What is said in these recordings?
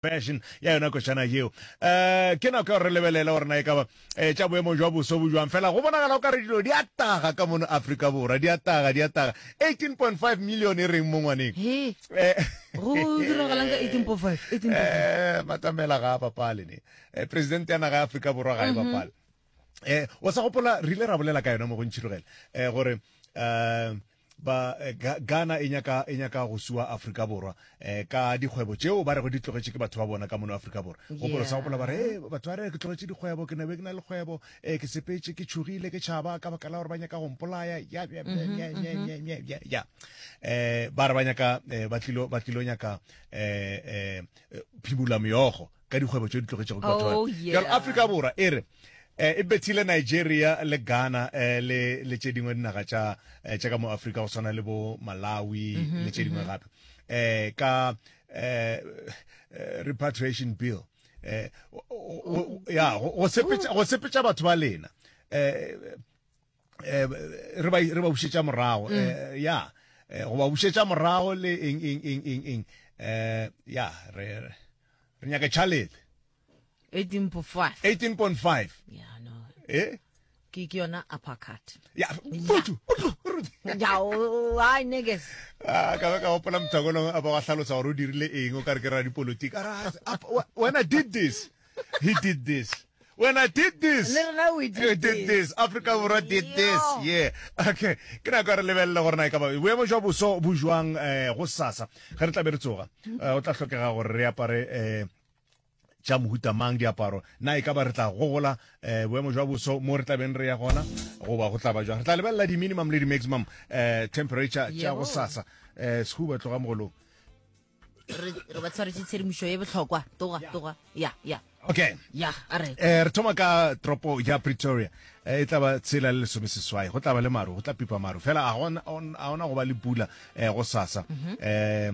Version ya yona košana yeo. Um ke nako ya gore re lebelele gore na e ka ba um tša boemo jwa boso bo jwang. Fela go bonagala o ka re dilo di a taga ka mono Afrika Borwa, di a taga, di a taga. 18.5 million e reng mo ngwaneng? He, Eh, go diragalang ka 18.5? 18.5. eh, Matamela ga a bapale ne. Eh, Presidente ya naga ya Afrika Borwa ga e bapale. Eh, o sa gopola re ile ra bolela ka yona mo go Ntšhirogele eh, gore um Ba Ghana e nyaka e nyaka go sua Afrika Borwa eh, ka dikgwebo tšeo ba rego di tlogetše ke batho ba bona ka mono Afrika Borwa. Gopola sa gopola ba re eh, batho ba re ke tlogetše dikgwebo ke nabe ke na le kgwebo eh, ke sepetše ke tšhogile ke tšhaba ka baka la gore ba nyaka go mpolaya ya ya ya ya ya ya ya ya eh ba re ba nyaka eh, ba tlilo ba tlilo nyaka eh eh phimula meokgo ka dikgwebo tše di tlogetšego ke batho ba Oh, yeah. Bjalo Afrika Borwa e re eh, e bethile Nigeria le Ghana eh, le le tše dingwe dinaga tša eh, tša ka mo Afrika go swana le bo Malawi Mhm, le tše dingwe gape eh, ka eh, eh, repatriation bill eh, o- o- o- ya go go sepetša go sepetša batho ba lena eh, eh, re ba re ba bušetša morago mm. eh, ya eh, go ba bušetša morago le eng eng eng eng eng eh ya re re nyaka tšhalete 18.5 18.5 yeah no eh ke ke yona uppercut ya putu putu ya o ai niggas ah ka ba ka gopola mothakolong a ba wa hlalosa gore o dirile eng o ka re ke radipolotiki a re, ah, when i did this He did this. When I did this. Le rena we did We did this. Afrika Borwa did this. Yo. Yeah. Okay. Ke nako ya re lebelele gore na e ka ba boemo jwa boso bo jwang eh, go sasa ge re tla be re tsoga. Eh, o tla hlokega gore re apare eh, tša mohuta mang diaparo na e ka ba re tla gogola eh, boemo jwa boso mo re tla beng re ya gona goba go tla ba jwang re tla lebelela di-minimum le di-maximum eh, temperature tša go Yebo. sasa eh, sehuba tloga mogolong re re ba tshwaretše tshedimošo ye bohlokwa toga toga ya ya okay ya a re eh re thoma ka tropo ya Pretoria eh, e tla ba tshela le lesome seswai go tla ba le maru go tla pipa maru fela a gona a gona go ba le pula eh, go sasa eh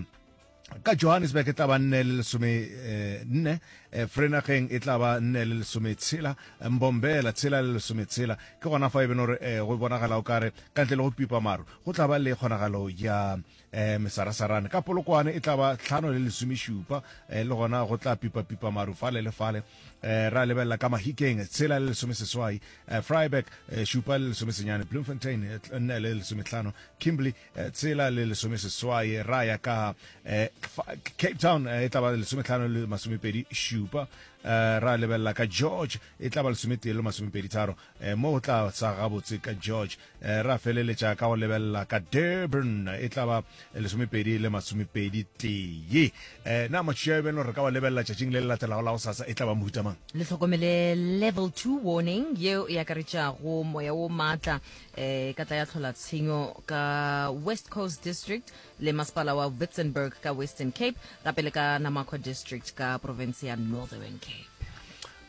ka Johannesburg e tla ba nne le lesome eh, nne eh, Vereeniging e tla ba nne le lesome tshela Mbombela tshela le lesome tshela ke gona fa e beno gore eh, go bonagala o kare ka ntle le go pipa maru go tla ba le kgonagalo ya Eh, mesarasarane ka Polokwane e tla ba tlhano le lesomešupa, eh, le gona go tla pipa-pipa maru fale le fale. Eh, ra lebelela ka Mahikeng tshela le lesomeseswai, eh, Vryburg eh, šupa le lesomesenyane, Bloemfontein eh, nne le lesomehlano, Kimberley eh, tshela le lesomeseswai, ra ya ka eh, Cape Town eh, e tla ba lesomehlano le masomepedi šupa, eh, ra lebelela ka George e tla ba lesometee le masomepedi tharo, eh, mo go tla sa gabotse ka George. Eh, ra feleletša ka go lebelela ka Durban e tla ba lesomepedi le masomepedi tee. Eh, na matšatši a beno re ka wa lebelela tšatšing le le latelago la go sasa e tla ba mohuta mang? Le hlokomele level 2 warning yeo e akaretšago moya wo maatla eh, ka tla ya tlhola tshenyo ka West Coast District le masepala wa Witzenberg ka Western Cape gape le ka Namakwa District ka profense ya Northern Cape.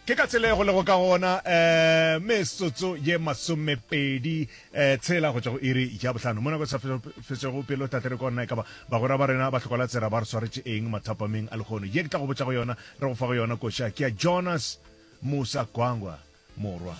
Ke ka tsela ye go lego ka gona, um metsotso ye masomepedi um tshela go tšwa go iri ya bohlano. Mo nako e sa fetšego pelo, Tate, re kwa na e ka ba bagwera ba rena ba Hlokolatsera ba re swaretše eng mathapameng a lehono. Ye ke tla go botša go yona, re go fa go yona koša, ke ya Jonas Musa Gwangwa, morwa.